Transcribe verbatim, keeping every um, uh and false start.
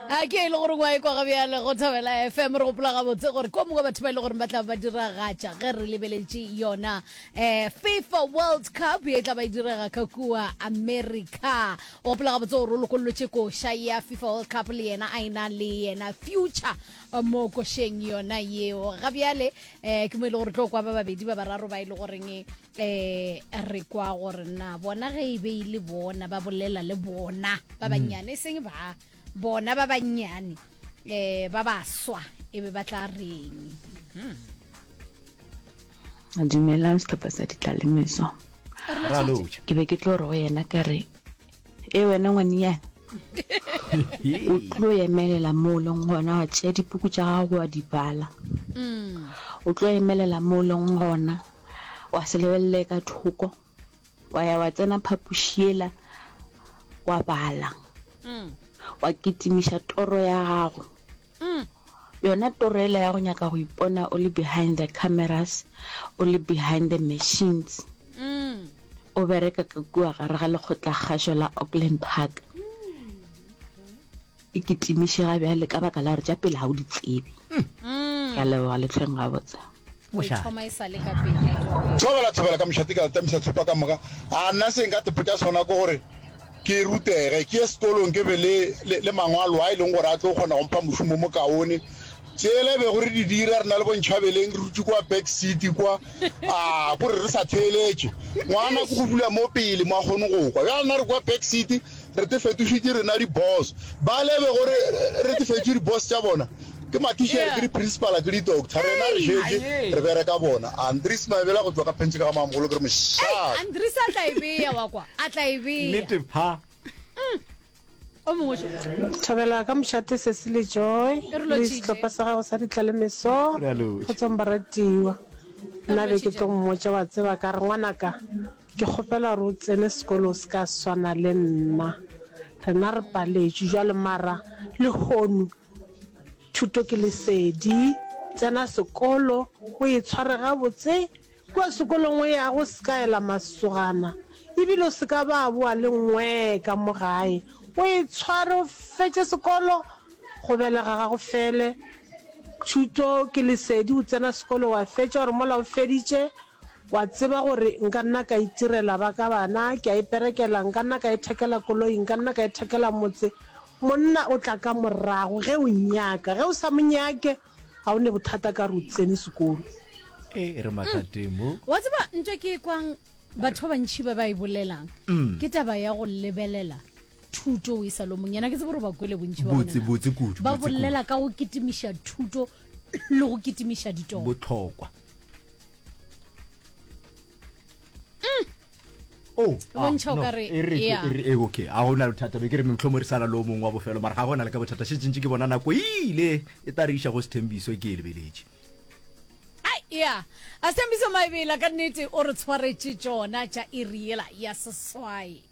A ke e le gore ngwa e kwa ga bjale go Thobela F M. Re gopola gabotse gore ko mongwe batho ba e le gore ba tla ba diragatša ge re lebeletše yona um FIFA World Cup ye tla ba e direga ka kua America. O gopola gabotse gore o lokollotše koša ya FIFA World Cup le yena a ena le yena Future mo košeng yona yeo. Ga bjale um ke mo e le gore tlo kwa ba babedi ba bararo ba e le goreng eh re kwa gore na bona ge e be e le bona ba bolela le bona ba bannyane, e seng ba bona ba bannyane eh ba baswa e be ba tla reng. Dumelang sehlopha sa ditlalemeso. Ke be ke tlo re go yena ka re, e wena ngwaninyana, o tlo emelela mo o leng gona wa tšea dipuku tša gago wa di bala. O tlo emelela mo o leng gona wa se lebelele ka thoko, wa ya wa tsena phapoši yela wa bala, wa kitimiša toro ya gago. Yona toro ela ya go nyaka go ipona o le behind the cameras, o le behind the machines, o bereka ka kua gare ga lekgotlakgašo la Auckland Park. E kitimiše ga bjale ka baka la gore tša pele ga o di tsebe. Ke a leboga le hlweng gabotse. O thoma e sa le ka pele. Thobela thobela ka mošate ka tamisa tshopa ka moka. A nna se nka tepotša sona ke gore ke rutege, ke ye sekolong ke be le, le, le mangwalo a e leng gore a tlo kgona go mpha mošomo mo kaone. Tšela bego re di dira re na le bontšhabeleng re dutše kwa back seat kwa, a kore re sa theeletše. Ngwana ke go dula mo pele mo a kgone go kwa. Bjale nna re kwa back seat re te fetošitše rena di-boss. Bale bego re, re te fetše di-boss tša bona ke mathišere, ke di-principal, ke di-doctor. Rena re šetše re bereka bona. Andries Maebela go tšwa ka Phentše ka ga Mamogolo ke re mošate. Andries a tla e bea wa kwa, a tla e bea. Nnete pha. O mongwe šo. Thobela ka mošate Sesi le Joy E re le lotšhitše. sehlopha sa gago sa ditlalemeso. Re a lotšha. Kgotsong baratiwa. E re Nna be ke lotšhitše. tlo mmotša wa tseba ka re ngwanaka ke kgopela gore o tsene sekolo o se ka swana le nna. Rena re paletšwe jwale mara lehono thuto ke lesedi. Tsena sekolo o e tshware gabotse. Kua sekolong o yago o se ka ela masogana ebile o se ka ba boa le nngwe ka mo gae. O e tshware o fetše sekolo, go belega ga go fele. Thuto ke lesedi, o tsena sekolo wa fetša gore mola o feditše wa tseba gore nka nna ka itirela ba ka bana, ke a iperekela, nka nna ka ithekela koloi, nka nna ka ithekela motse. Monna o tla ka morago ge o nyaka, ge o sa mo nyake ga o ne bothata ka re o tsene sekolo. E re mathateng mo. Wa tseba ntho ke e kwang batho ba bantši ba ba e bolelang ke taba ya go lebelela thuto o e sa le mong. Yena ke tsebe gore ba kwele bontši ba Botse, bona na. botse kudu, Ba botse kudu. bolela ka go kitimiša thuto le go kitimiša ditoro. Bohlokwa. Oh, E bontšha o ah, ka no, re, e re, yeah. e re, e okay. A gona bothata be ke re mohlomong re sala le o mongwe wa bofelo mara ga gona le ka bothata. Šetše ntše ke bona nako e ile e tla re iša go Sethembiso ke e lebeletše. Ai, ya. A Sethembiso Maebela ka nnete o re tshwaretše tšona tša iri yela ya seswai.